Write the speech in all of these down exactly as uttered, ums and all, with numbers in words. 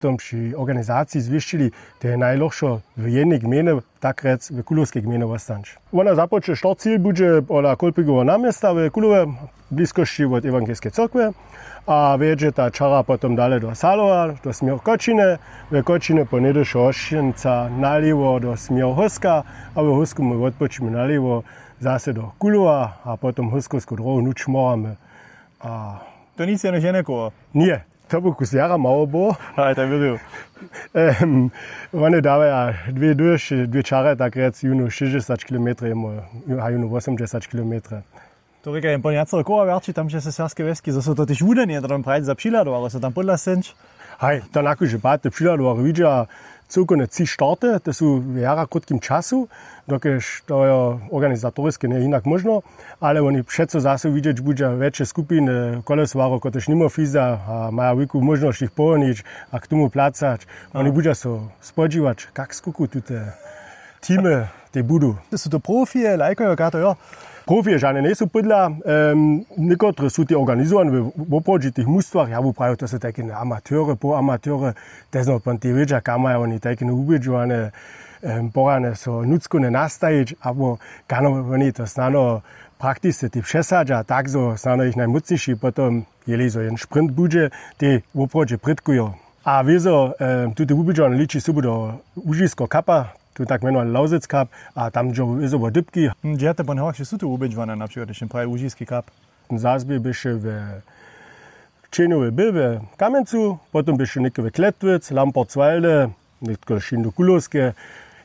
Tom při organizaciji zwěsćili, to je najlochšo w jednej gmejnje, tak rjec w Kulowskej gmejnje wostać. Wona započne, štart cil budźe pola Kolpigoweho naměsta w Kulowej, w bliskosći wot ewangelskej cyrkwje, a wjedźe ta čara potom dale do Salowa, do směru Kočiny, w Kočiny po něhdyšo Hošćenca nalěwo do směru Hóska, a w Hósku my wotpočimy nalěwo zase do Kulowa a potom hóskowsku dróhu hnuć moramy. A to nic jenož jenekoło. Ně, to by kus jara mało było. Aj, tak wěruju. Em, One dawaja dwě dóš, dwě čarje, tak rjec, jónu šěsćdźesać kilometrow, a jónu wosomdźesać kilometrow. To rěka jen po nějaceho koła wjerći tam přez serbske wjeski, zo so to tež wudanje, to tam prajić, za přihladowarjo so tam podla scenć. Haj, to na kóždy pad te přihladowarjo widźa cyłkowne tři starty, te su w jara krótkim času, dokelž to je organizatoriske njeje hinak móžno, ale woni přeco zaso widźeć budźa wjetše skupiny kolesowarjow, kotrež nimo fiza a maja wulku móžnosć jich pohonić a k tomu placać. Woni budźa so spodźiwać, kak skuku tute teamy tej budu. Su to profije, lajkojo, kato jo? Profije žane njejsu podla. Em, někotre su te organizowani w woprawdźitych mustwach, ja bu prawił, to su tajke amatyry, połamatyry, te znopon te wědźa, kam maja woni tajke wubědźowane, em, porane so nutřkowne nastajić, abo kano woni to snano praktisce te přesadźa, tak zo snano jich najmócniši potom, jeli zo jen sprint budźe, te woprawdźe prědkujo. A wězo, em, tute wubědźowanje liči sobu do łužisko kapa, tu tak mjenowany Lausitz Cup, a tam dźe wězo wo dypki. Hm, hdźe te pon horši su tu wubědźowane, na přikład, hdźež praji łužiski kap? Zazbě běše we Čenjowej, bě we Kamjencu, potom běše něke we Kletwitz, Lampertswalde, nětko šindu Kulowske,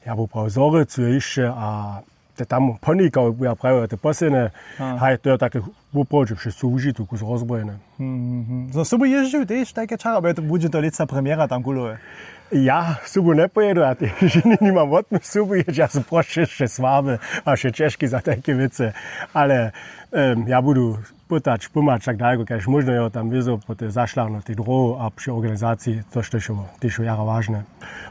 ja bu prawił, Zhorjelcu je hišće a te tam ponikał, ja prawił, te posledne, haj, to je take woprawdźe přez cyłu Łužicu kus rozbrojene. Hmm, hmm, hmm. Zo sobu jězdźił tež tajke čara, bo je to, budźe to lětsa premjera tam Kulowe? Ja sobu njepojědu, ja tež nimam wotmy sobu jězdź, ja su prošće wše słaby a wše ćežki za tajke wěcy. Ale, em, ja budu pytać, pomhać tak daleko, kaž móžno, jo, tam wězo po tej zašlahnutej dróhu a při organizaciji, to što je tež jara wažne.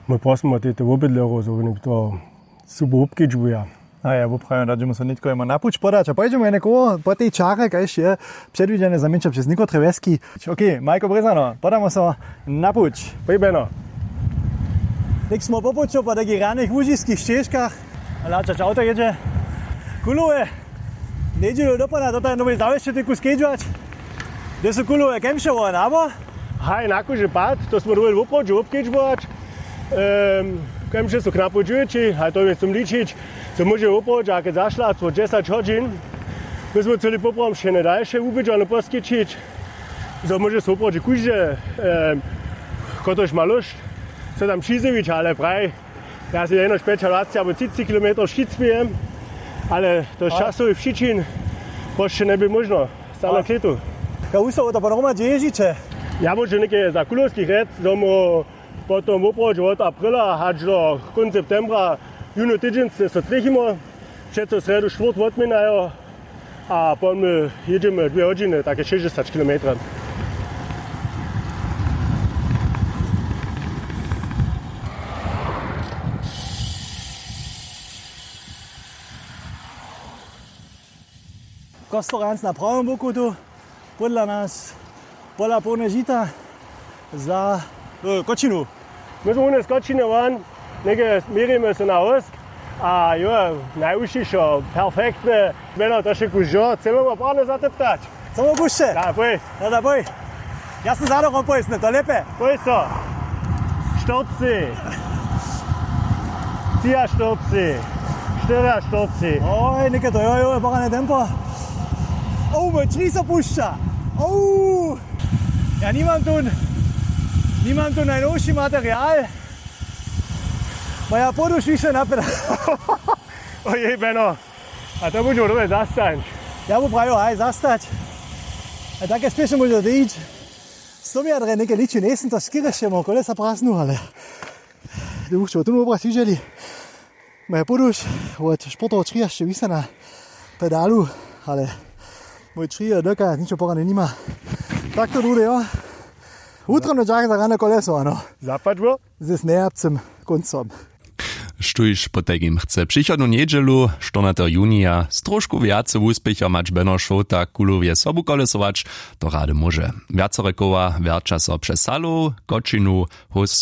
My prosimy te, te wobydlerjow, zo woni to sobu wobkedźbuja. A ja woprawjam, da dźemo so nětko jemu na puć podać a pojedźemy jene koło po tej čarje, kaž je předwidźene za mjeńša přez někotre wjeski. Okej, Majko Brězano, podamy so na puć. Pojbeno. Něk smo po puću po takich rjanych łužiskich šćežkach. Hlačać awto jědźe. Kulowe. Njedźelu dopołdnja, to tam nowej zawěsće tyku skedźować. Hdźe su Kulowe, Kemšowo, abo? Haj, na kóždy pad, to smo dowoli woprawdźe wobkedźbować. Em, Kemše su knapo dźěći, haj, to je sum ličić, co móže woprawdźe, a kej zašla, co dźesać hodźin. My smo chceli poprawom wšěne dalše wubědźowanje poskićić, zo móže so woprawdźe kóždy, em, kotož ma lóšt, so tam přizjewić, ale praj, ja sej jenož pjećadwaceći abo třiceći kilometrow šćic během, ale to z časowych přičin prosće njebě móžno. Stano kletu. Ja, wustawu to pohromadźe jězdźiće. Ja móžu něke za Kulowskich rjec, zo móhł potom woprawdźe wot aprila hač do kónc septembra jónu tydźeń so trěchimy. Přeco srjedu, štwórtk wotměnajo. A pon my jědźemy dwě hodźiny, take šěsćdźesać kilometrow. Kostorjanc na prawym boku tu, podla nas pola połne žita za, e, Kočinu. My smo runje z Kočiny won, něke měrimy so na Hósk. A jo, najwušišo, perfektne. Mjeno to wše kužo, chcemy wam parne zatyptać. Co mu pušće? Da, poj. Da, da, poj. Ja sam za dokom pojsny, to lěpe. Poj so. Štyrci. Třiaštyrci. Štyriaštyrci. Oj, něke to, jo, jo, parne tempo. O, mój tři so pušća. O. Ja nimam tu, nimam tu najnowši material. Moja poduš više napěda. Ojej, Beno. A to budźe dobre zastań. Ja bu prajił, haj, zastać. A take spěšno móže to ić. Sto metrje něke liči, njejsym to škěrješe, mo kolesa prasnu, ale. Ty wušće tu wobraz widźeli. Moja poduš, wot sportowo tři hašće wisa na pedalu, ale mój tři je doka, ničo porane nima. Tak to dudy, jo. Wutrobny dźak za rane koleso, ano. Zapadło? Z nejapcym kóncom. Štóž potajkim chce přichodnu njedźelu, štyrnateho junija, z trošku wjace wuspěchow mać Beno Šołta Kulowje sobu kolesować, to rady móže. Wjacore koła wjerća so přez Salow, Kočinu, Hósk,